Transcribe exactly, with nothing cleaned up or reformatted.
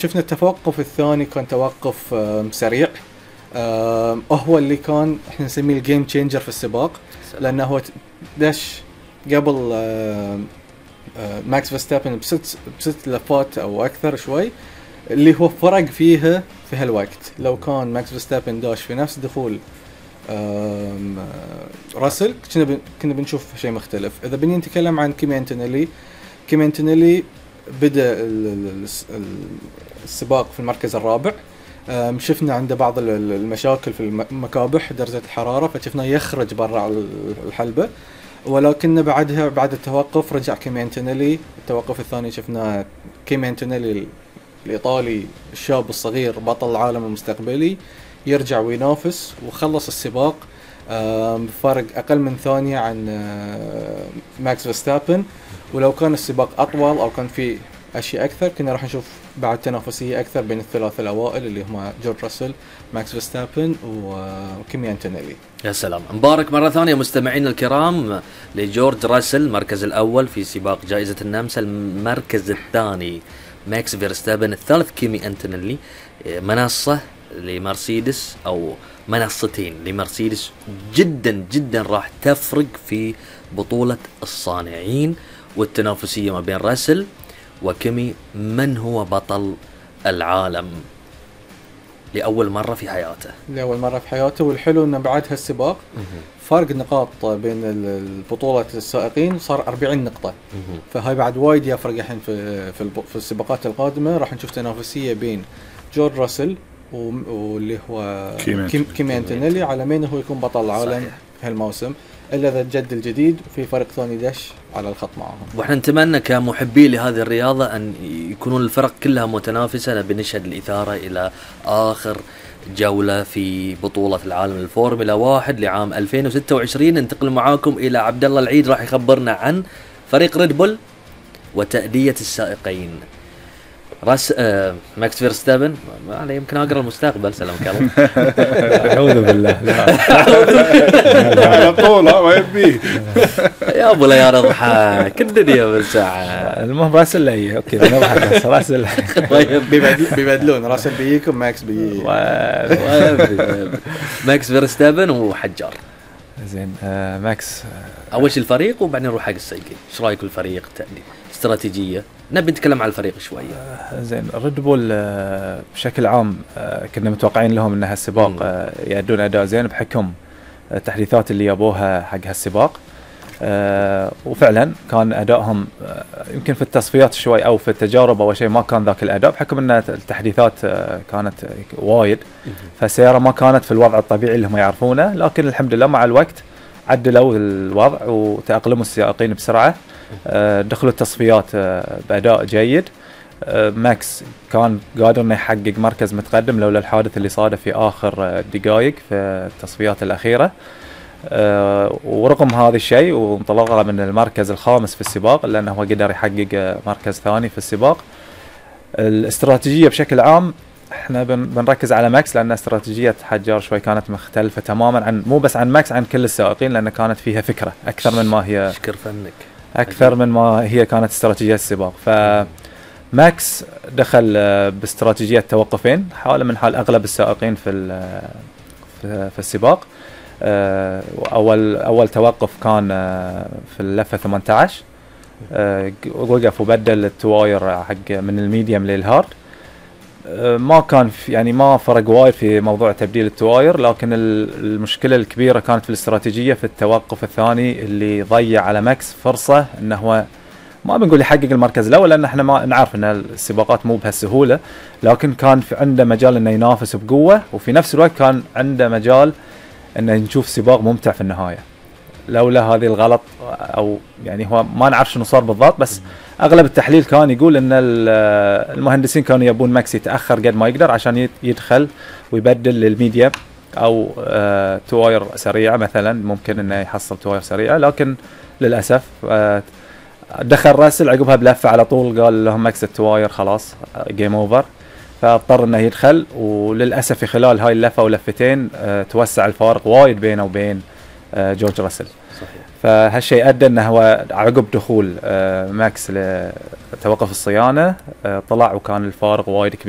شفنا التوقف الثاني كان توقف سريع، هو اللي كان احنا نسميه الجيم تشينجر في السباق، لانه هو دش قبل ماكس فيرستابن بست بست لفات او اكثر شوي، اللي هو فرق فيها في هالوقت. لو كان ماكس فيرستابن داش في نفس دخول راسل كنا كنا بنشوف شيء مختلف. اذا بني نتكلم عن كيمي أنتونيلي، كيمي أنتونيلي بدأ السباق في المركز الرابع، شفنا عنده بعض المشاكل في المكابح درجة الحرارة، فشفنا يخرج برا الحلبة، ولكن بعدها بعد التوقف رجع كيمي أنتونيلي. التوقف الثاني شفنا كيمي أنتونيلي الإيطالي الشاب الصغير بطل العالم المستقبلي يرجع وينافس، وخلص السباق بفارق أقل من ثانية عن ماكس فيرستابن. ولو كان السباق أطول أو كان فيه أشياء أكثر كنا راح نشوف بعد تنافسية أكثر بين الثلاثة الأوائل اللي هم جورج راسل، ماكس فيرستابن وكيمي أنتونيلي. يا سلام، مبارك مرة ثانية مستمعينا الكرام لجورج راسل المركز الأول في سباق جائزة النمسا، المركز الثاني ماكس فيرستابن، الثالث كيمي أنتونيلي. منصة لمرسيدس أو منصتين لمرسيدس جدا جدا راح تفرق في بطولة الصانعين والتنافسية ما بين راسل وكيمي. من هو بطل العالم لأول مرة في حياته لأول مرة في حياته والحلو أنه بعد هالسباق فرق نقاط بين البطولة السائقين صار أربعين نقطة، فهاي بعد وايد يفرق الحين في في السباقات القادمة. راح نشوف تنافسية بين جورج راسل واللي هو كيمي أنتونيلي على مين هو يكون بطل العالم في هالموسم، إلا إذا الجد الجديد وفي فرق ثاني دش على الخط معهم. وإحنا نتمنى كمحبي لهذه الرياضة أن يكونون الفرق كلها متنافسة، بنشهد الإثارة إلى آخر جولة في بطولة العالم الفورمولا واحد لعام ألفين وستة وعشرين. ننتقل معاكم إلى عبد الله العيد راح يخبرنا عن فريق ريد بول وتأدية السائقين. راس آه ماكس فيرستابن ما يمكن اقرا المستقبل. سلامك الله. اعوذ بالله. على طول ما يبي يا ابو لا يا رضحى كل الدنيا بالساعه. المهم راسل لي اوكي نضحك بس راسل بيبدلون راسل بيجيكم ماكس بيجي. ماكس فيرستابن وحجار. زين آه ماكس اول شيء الفريق وبعدين نروح حق السائقين. ايش رايك بالفريق تأدي استراتيجية؟ نبي نتكلم عن الفريق شوية. آه زين ريد بول آه بشكل عام آه كنا متوقعين لهم ان هالسباق آه يأدون اداء زين بحكم التحديثات اللي جابوها حق هالسباق، آه وفعلا كان ادائهم آه يمكن في التصفيات شوي او في التجارب او شيء ما كان ذاك الاداء بحكم ان التحديثات آه كانت وايد، فالسيارة ما كانت في الوضع الطبيعي اللي هم يعرفونه، لكن الحمد لله مع الوقت عدلوا الوضع وتأقلموا السائقين بسرعة، آه دخلوا التصفيات آه بأداء جيد. آه ماكس كان قادر انه يحقق مركز متقدم لولا الحادث اللي صادف في آخر آه دقائق في التصفيات الأخيرة، آه ورغم هذا الشيء وانطلقه من المركز الخامس في السباق لأنه هو قدر يحقق آه مركز ثاني في السباق. الاستراتيجية بشكل عام احنا بن بنركز على ماكس لأن استراتيجية حجار شوي كانت مختلفة تماما عن مو بس عن ماكس، عن كل السائقين، لأن كانت فيها فكرة أكثر من ما هي شكر فنك أكثر من ما هي كانت استراتيجية السباق. فماكس دخل باستراتيجية توقفين حاله من حال أغلب السائقين في في السباق. أول أول توقف كان في اللفة ثمانية عشر، وقف وبدل التواير حق من الميديم للهارد. ما كان في يعني ما فرق وايد في موضوع تبديل التواير، لكن المشكلة الكبيرة كانت في الاستراتيجية في التوقف الثاني اللي ضيع على ماكس فرصة انه هو ما بنقول يحقق المركز الاول لان احنا ما نعرف ان السباقات مو بهالسهولة، لكن كان في عنده مجال انه ينافس بقوة، وفي نفس الوقت كان عنده مجال انه نشوف سباق ممتع في النهاية. لولا هذه الغلط او يعني هو ما نعرف شنو صار بالضبط، بس اغلب التحليل كان يقول ان المهندسين كانوا يبون ماكس يتاخر قد ما يقدر عشان يدخل ويبدل للميديا او آه تواير سريعه مثلا، ممكن انه يحصل تواير سريعه، لكن للاسف آه دخل راسل عقبها بلفه على طول قال لهم ماكس التواير خلاص جيم اوفر، فاضطر انه يدخل، وللاسف في خلال هاي اللفه ولفتين آه توسع الفارق وايد بينه وبين آه جورج راسل. صحيح. فهالشيء ادى انه هو عقب دخول آه ماكس لتوقف الصيانه آه طلع وكان الفارق وايد كبير.